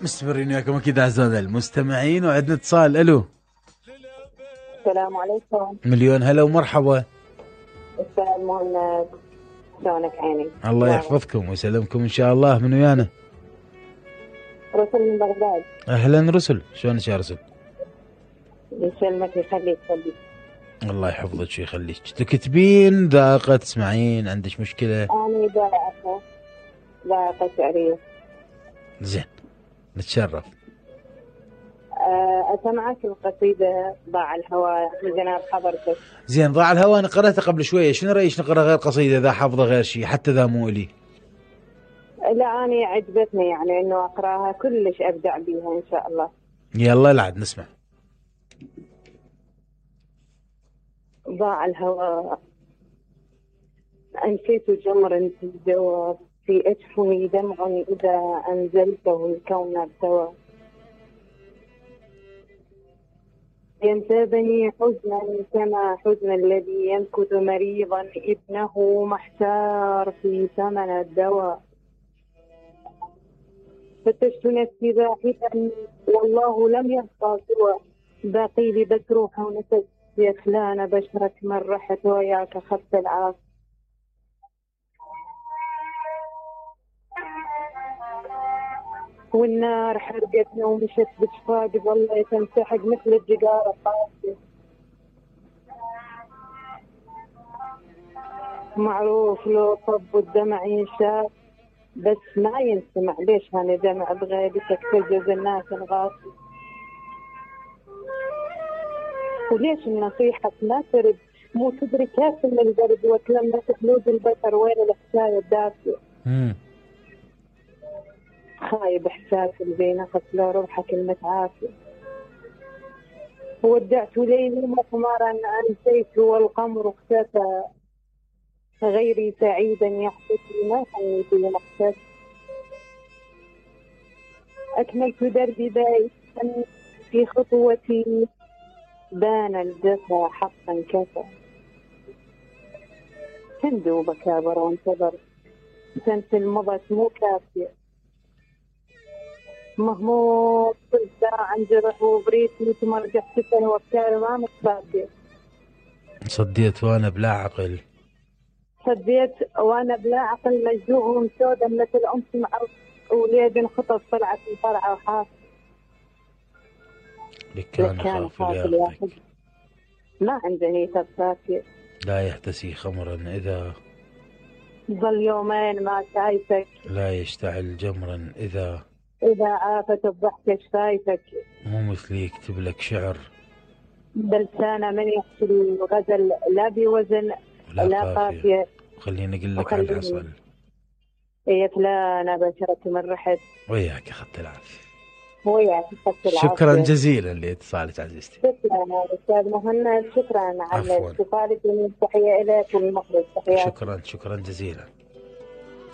مستمرين وياكم اكيد اعزائنا المستمعين، وعندنا اتصال. الو، السلام عليكم. مليون هلا ومرحبا. استاذ مهند، شلونك عيني؟ الله يحفظكم ويسلمكم ان شاء الله. من ويانا؟ رسل من بغداد. اهلا رسل، شلونك يا رسل؟ يسلمك يخليك. الله يحفظك ويخليك. تكتبين ذائقة تسمعين؟ عندك مشكلة؟ أنا ذائقة شعرية. زين، نتشرف. أسمعك القصيدة ضاع الهوى لجناب حضرتك. زين، ضاع الهوى أنا قرأتها قبل شوية، شنو رأيك نقرأ غير قصيدة إذا حافظة غير شيء حتى إذا مو إلي؟ لا أنا عجبتني يعني إنه أقرأها كلش أبدع بيها إن شاء الله. يلا لعد نسمع. ضاع الهوى أنسيت جمرا في الجواب، في أجفني دمع إذا أنزلته الكون ارتوى. ينتابني حزنا كما حزن الذي يمكث مريضا ابنه محتار في ثمن الدواء. فتشت نفسي باحثا والله لم يبقى سوى باقي لي بس روح ونفس يخلان بشرك من رحت وياك خف العاص. والنار حرقتنا ومشت بشفاق ظلت تنسحق مثل الجدار القاسي. معروف لو صب الدمع ينشاف بس ما ينسمع، ليش هاني دمع بغيبتك تجز الناس الغاصي. وليش النصيحة ما ترد، مو تدري كيف من البرد وتلمس خلود البشر وين الحكاية الدافية. خايب إحساس اللي نقص لو روحك المتعافية. ودعت ليلي مقمرا أنسيت والقمر اختفى، غيري سعيدا يحبسني ما حنيت لمقتدى. أكملت دربي بائسا في خطوتي، بان الجفا حقا كفى. هندو بكابر وانتظر سنة المضت مو كافية. مهموم كل ساعة عن جرح وبريت مثل ما رجعت سنة وافكاري ما متفادية. صديت وانا بلا عقل، صديت وانا بلا عقل مجزوع ومسودا مثل امس مع وليد انخطف طلعت الفرعة وحاف. لك كان خافل ياخذ ما عنده هيك صافية. لا يحتسي خمرا إذا ظل يومين ما شايفك، لا يشتعل جمرا إذا عافت الضحكة شفايفك. مو مثلي يكتب لك شعر بلسانه من يحكي الغزل لا بوزن لا قافية. خليني أقول لك على العسل. يا فلانة بشرك من رحت وياك أخذت العافية. وياك أخذت العافية. شكرا جزيلا لاتصالك عزيزتي. شكرا أستاذ مهند، شكرا على اتصالك، والتحية إليك والمخرج. شكرا جزيلا.